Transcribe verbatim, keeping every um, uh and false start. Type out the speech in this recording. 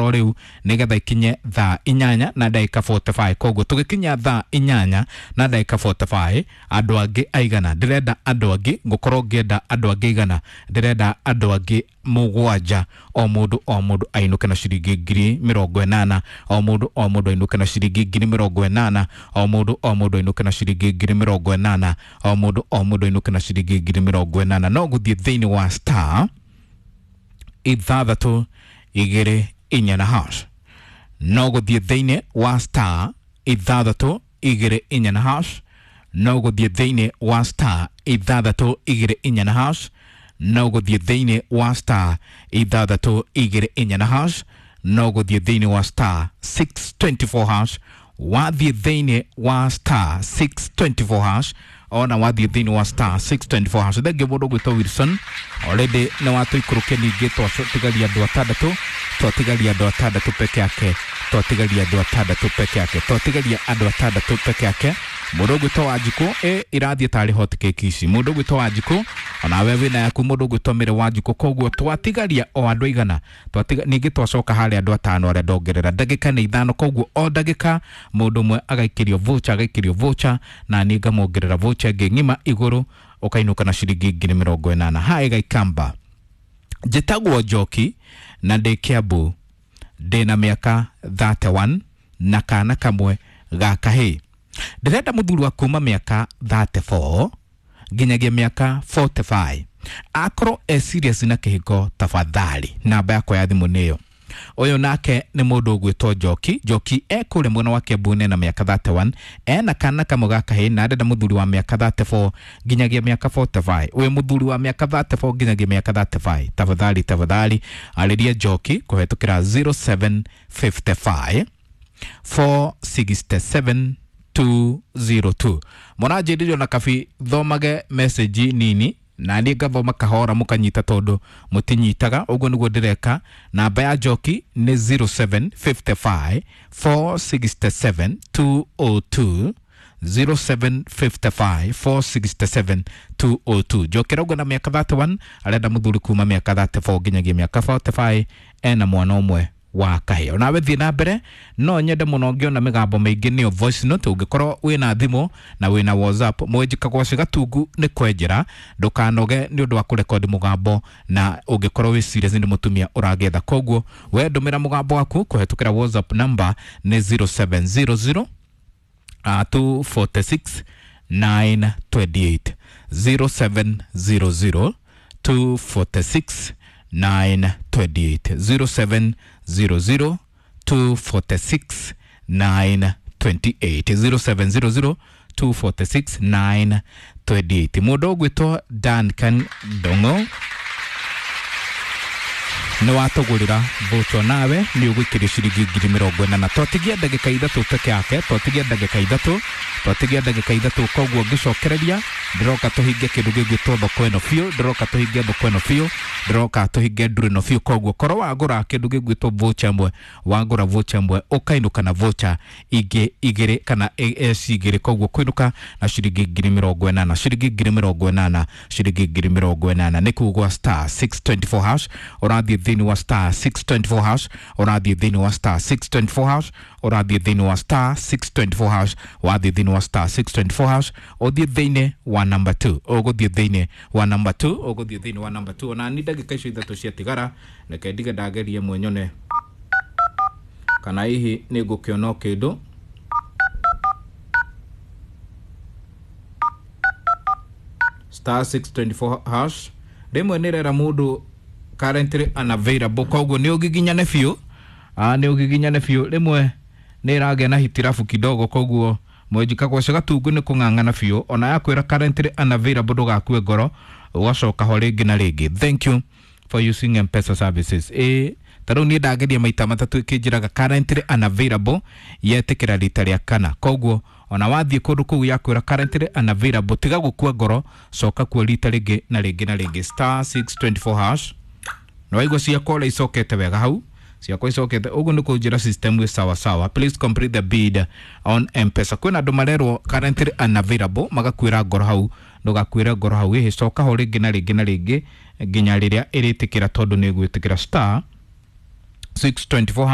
Riu nigetha ikinye thaa inyanya na ndagika mĩrongo ĩna na ithano. Koguo tugikinya thaa inyanya na ndagika mĩrongo ĩna na ithano, andu angi aigana ndirenda, andu angi ngukorwo ngienda andu angi igana, ndirenda andu angi mugwanja, o mundu o mundu ainuke na ciringi ngiri mĩrongo ĩnana, o mundu o mundu ainuke na ciringi ngiri mĩrongo ĩnana, o mundu o mundu ainuke na ciringi ngiri mĩrongo ĩnana, o mundu o mundu ainuke na ciringi ngiri mĩrongo ĩnana. No guthie thiini wa star ithathatũ igĩrĩ inya na hash, no gũthiĩ thĩinĩ wa star ithathatũ igĩrĩ inya na hash, no gũthiĩ thĩinĩ wa star ithathatũ igĩrĩ inya na hash, no gũthiĩ thĩinĩ wa star ithathatũ igĩrĩ inya na hash, no gũthiĩ thĩinĩ wa star six twenty-four hash. Wathiĩ thĩinĩ wa star six twenty-four hash, ona wathiĩ thĩinĩ wa star six twenty-four hash. Thengiũ mũndũ ũgwĩtwo Wilson, already nĩ watũikũrũkia. Ningĩ twatigaria andũ atandatũ, twatigaria andũ atandatũ peke yake, twatigaria andũ atandatũ peke yake, twatigaria andũ atandatũ peke yake. Mũndũ ũgwĩtwo Wanjikũ, ĩ irathiĩ tarĩ hot cake ici. Mũndũ ũgwĩtwo Wanjikũ, onawe wĩna yaku. Mũndũ ũgwĩtwo Mĩrĩ Wanjikũ. Koguo twatigaria o andũ aigana? Twatiga ningĩ twacoka harĩa andũ atano arĩa ndongerera. Ndagĩka nĩ ithano, koguo o ndagĩka mũndũ ũmwe agaikĩrio voucher, agaikĩrio voucher, na niĩ ngamuongerera voucher ĩngĩ ng'ima igũrũ, ũkainũka na ciringi ngiri mĩrongo ĩnana. Haĩ Gaikamba, njĩtagwo Njoki na ndĩ Kiambu, ndĩna mĩaka mĩrongo ĩtatũ na ĩmwe na kana kamwe ga kahĩĩ. Ndĩrenda mũthuri wa kuma mĩaka mĩrongo ĩtatũ na ĩna nginyagia mĩaka mĩrongo ĩna na ithano, akorwo e serious na kĩhiko. Tafadhali, namba yakwa ya thimũ nĩyo. Ũyũ nake nĩ mũndũ ũgwĩtwo Njoki. Njoki e kũrĩa mwena wa Kiambu, na mĩaka mĩrongo ĩtatũ na ĩmwe, ena kana kamwe ga kahĩĩ, na arenda mũthuri wa mĩaka mĩrongo ĩtatũ na ĩna nginyagia mĩaka mĩrongo ĩna na ithano. Ũyũ mũthuri wa mĩaka mĩrongo ĩtatũ na ĩna nginyagia mĩaka mĩrongo ĩtatũ na ithano, tafadhali, tafadhali arĩria Njoki kũhetũkĩra zero seven five five four six seven two zero two. Mũranjĩrire na kabi thomage message nini na niĩ ngathoma kahora mũkanyita, tondũ mũtinyitaga. Ũguo nĩguo ndĩreka. Namba ya Njoki nĩ zero seven five five four six seven two zero two, zero seven five five four six seven two zero two. Njoki arauga na mĩaka mĩrongo ĩtatũ na ĩmwe, arenda mũthuri kuma mĩaka mĩrongo ĩtatũ na ĩna nginyagia mĩaka mĩrongo ĩna na ithano, ena mwana ũmwe wa kahĩĩ. Onawe thiĩ na mbere, no nyende mũno ngĩona mĩgambo mĩingĩ nĩyo voice note. Ũngĩkorwo wĩna thimũ na wĩna WhatsApp, mwenjika gwaci gatungu nĩ kwenjera, ndũkanoge nĩ ũndũ wa kũrekodi mũgambo, na ũngĩkorwo wĩ serious nĩ mũtumia ũragetha. Koguo we ndũmĩra mũgambo waku kũhetũkĩra WhatsApp, number nĩ zero seven zero zero uh, two four six nine two eight, zero seven zero zero two four six nine two eight, zero seven zero zero two four six nine two eight, zero seven zero zero two four six nine two eight. Mũndũ ũgwĩtwo Duncan Dongo nĩ watũgũrĩra voucher, nawe nĩ ũgũikĩrio ciringi ngiri mĩrongo ĩnana. Twatigia ndagĩka ithatũ peke yake, twatigia ndagĩka ithatũ, twatigia ndagĩka ithatũ. Koguo ngĩcokereria ndĩroka tũhinge kĩndũ gĩgwĩtwo thoko ĩno biũ, ndĩroka tũhinge thoko ĩno biũ, ndĩroka tũhinge ndũrũ ĩno biũ. Koguo korwo wagũra kĩndũ gĩgwĩtwo voucher ĩmwe, wagũra voucher ĩmwe ũkainũka na voucher ingĩ igĩrĩ kana eci igĩrĩ. Koguo kũinũka na ciringi ngiri mĩrongo ĩnana, ciringi ngiri mĩrongo ĩnana, ciringi ngiri mĩrongo ĩnana. Nĩ kugwa star six twenty-four hash, ũrathiĩ thĩinĩ wa star six twenty-four hash, ũrathiĩ thĩinĩ wa star six twenty-four hash, ũrathiĩ thĩinĩ wa star six twenty-four hash. Wathiĩ thĩinĩ wa star six twenty-four hash, ũthiĩ thĩinĩ wa number two, ũgũthiĩ thĩinĩ wa number two, ũgũthiĩ thĩinĩ wa number two. Ona ni ndagĩka icio ithatũ ciatigara, reke ndige ndagerie mwenyone kana hihi nĩ ngũkĩona o kĩndũ. Star six twenty-four hash, rĩmwe nĩ rera mũndũ currently unavailable, koguo nĩ ũgiginyane biũ. Ah, nĩ ũgiginyane biũ. Rĩmwe nĩ ĩragĩa na hitirabu kidogo, koguo mwenjika gwacio gatungu nĩ kũng'ang'ana biũ. Ona yakwĩra currently unavailable, ndũgakue ngoro, ũgacoka ho rĩngĩ na rĩngĩ. Thank you for using M-Pesa services. Ĩ ta rĩu niĩ ndageria maita matatũ ĩkĩnjĩraga currently unavailable, yetĩkĩra rita rĩa kana. Koguo ona wathiĩ kũndũ kũu yakwĩra currently unavailable, tiga gũkua ngoro, coka kuo rita rĩngĩ na rĩngĩ na rĩngĩ. Star six twenty-four hash. Na waigua ciakwa ũrĩa icokete wega hau, ciakwa icokete ũguo nĩ kũnjĩra system ĩ sawa sawa. Please complete the bid on M-Pesa. Kwĩna andũ marerwo currently unavailable magakuĩra ngoro hau. Ndũgakuĩre ngoro hau, ĩhĩ, coka ho rĩngĩ na rĩngĩ na rĩngĩ nginya rĩrĩa ĩrĩtĩkĩra, tondũ nĩ ĩgwĩtĩkĩra. Star six twenty four.